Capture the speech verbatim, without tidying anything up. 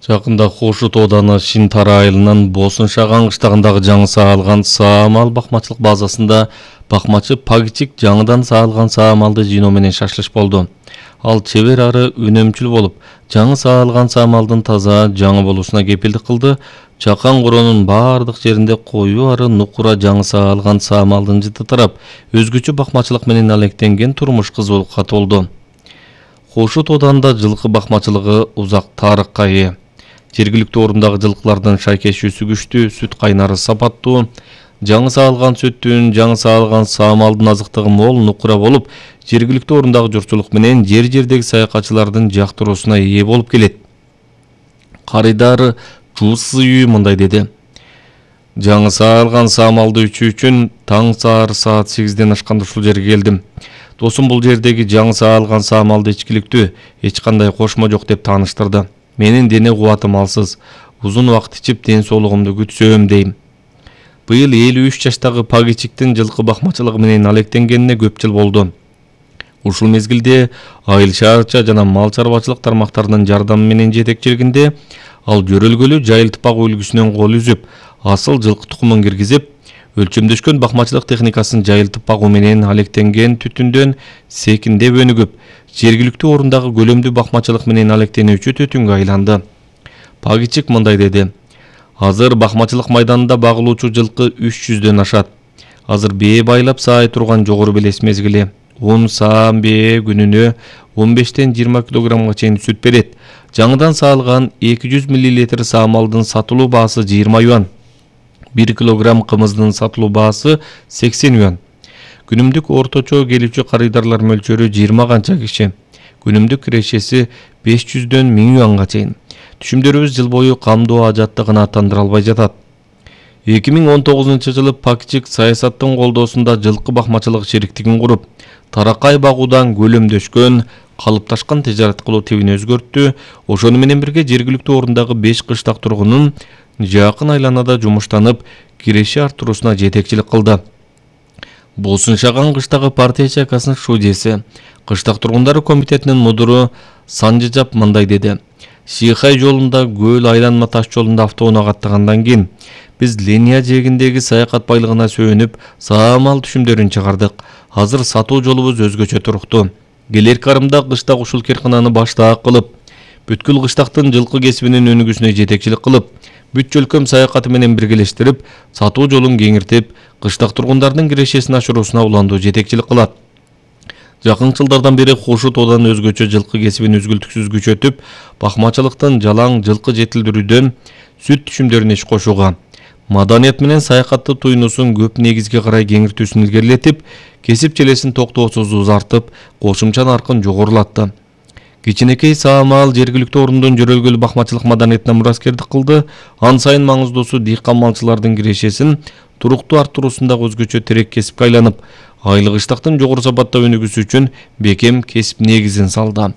Жакында Хошут ооданы Шинтара айылынын Босун-Шаган кыштагындагы жаңы саалган саамал бакмачылык базасында бакмачы Пагичик жаңыдан саалган саамалды жыйноо менен шашлыш болду. Ал чебер ары үнөмчүл болуп, жаңы саалган саамалдын таза жаңы болуусуна кепилдик кылды. Чакан коронун бардык жеринде коюу ары нукура жаңы саалган саамалдын жыты тарап, өзгөчө бакмачылык менен алектенген турмуш кызуулукка толду. Хошут ооданда жылкы бакмачылыгы узак тарыхка ээ. Жергиликтүү орундагы жылкылардын шайкешүүсү күчтүү, сүт кайнары сапаттуу, жаңы саалган сүттүн, жаңы саалган саамалдын азыктыгы мол нукура болуп, жергиликтүү орундагы журтчулук менен жер-жердеги саякатчылардын жактыруусуна ээ болуп келет. Карыдар Жусуй мындай деди: Жаңы саалган саамалды ичүү үчүн таң саар саат сегизден ашканда ушул жерге келдим. Досум бул жердеги жаңы саалган саамалды ичкиликтүү, эч кандай кошмо жок деп тааныштырды. Менин дене кубатым алсыз, узун убакыт ичип ден соолугумду күтсөм дейм. Быйыл элүү үч жаштагы Пагичиктин жылкы бакмачылыгы менен алектенгенине көп жыл болду. Ушул мезгилде айыл шаарча жана мал чарбачылык тармактарынын жардамы менен жетекчилигинде ал жөрөлгөлүү жайылтпак үлгүсүнөн кол үзүп, асыл жылкы тукумун киргизип, өлчөмдөшкөн бакмачылык техникасын жайылтып багуу менен алектенген түтүндөн секиндеп өнүгүп, жергиликтүү орундагы көлөмдүү бакмачылык менен алектенүүчү түтүнгө айланды. Пагичик мындай деди: Азыр бакмачылык майданында багылуучу жылкы үч жүздөн ашат. Азыр бээ байлап саай турган жогору белес мезгили. Он саам бээ күнүнө он бештен жыйырма килограммга чейин сүт берет. Жаңыдан саалган эки жүз миллилитр саамалдын сатылуу баасы жыйырма юан. бир килограмм кымыздын сатылуу баасы сексен юан. Күнүмдүк орточо келүүчү карыдарлар мөлчөрү жыйырма канча киши. Күнүмдүк кирешеси беш жүздөн миң юанга чейин. Түшүмдөрүбүз жыл бою камдоо ажаттыгына аттандыра албай жатат. эки миң он тогузунчу жылы Пагичик саясаттын колдоосунда жылкы бакмачылык шериктигин куруп, таракай багуудан көлөмдөшкөн, калыпташкан тижарат кылуу тибин өзгөрттү. Ошону менен бирге жергиликтүү орундагы беш кыштак тургунун жакын айланада жумуштанып, киреше арттыруусуна жетекчилик кылды. Босун-Шаган кыштагы партия чайкасынын шудеси, кыштак тургундары комитетинин мудуру Санжыжап мындай деди: Шийхай жолунда көл айланма таш жолунда автоунаа каттагандан кийин биз линия жээгиндеги саякат байлыгына сөөнүп, саамал түшүмдөрүн чыгардык. Азыр сатуу жолубуз өзгөчө туруктуу. Келер карымда кыштак ушул керкананы баштаак кылып, бүткүл кыштактын жылкы кесибинин өнүгүүсүнө жетекчилик кылып, бүт жөлкөм саякаты менен биргелештирип, сатуу жолун кеңиртип, кыштак тургундардын кирешесин ашыруусуна уланду жетекчилик кылат. Жакын жылдардан бери Хошут ооданы өзгөчө жылкы кесибин үзгүлтүксүз күчөтүп, бакмачылыктын жалаң жылкы жетилдирүүдөн сүт түшүмдөрүнө иш кошууга, маданият менен саякатты туйнусун көп негизге карай кеңиртүүсүн илгерилетип, кесип челесин токтоосуз узартып, кошумча наркын жогорулатты. Кичинекей саамал жергиликтүү орундун жөрөлгөлүү бакмачылык маданиятына мураскердик кылды. Ан сайын маңыздуусу дыйкан малчылардын кирешесин туруктуу арттыруусундагы өзгөчө терек кесипке айланып, айлык ыштактын жогору сапатта өнүгүүсү үчүн бекем кесип негизин салды.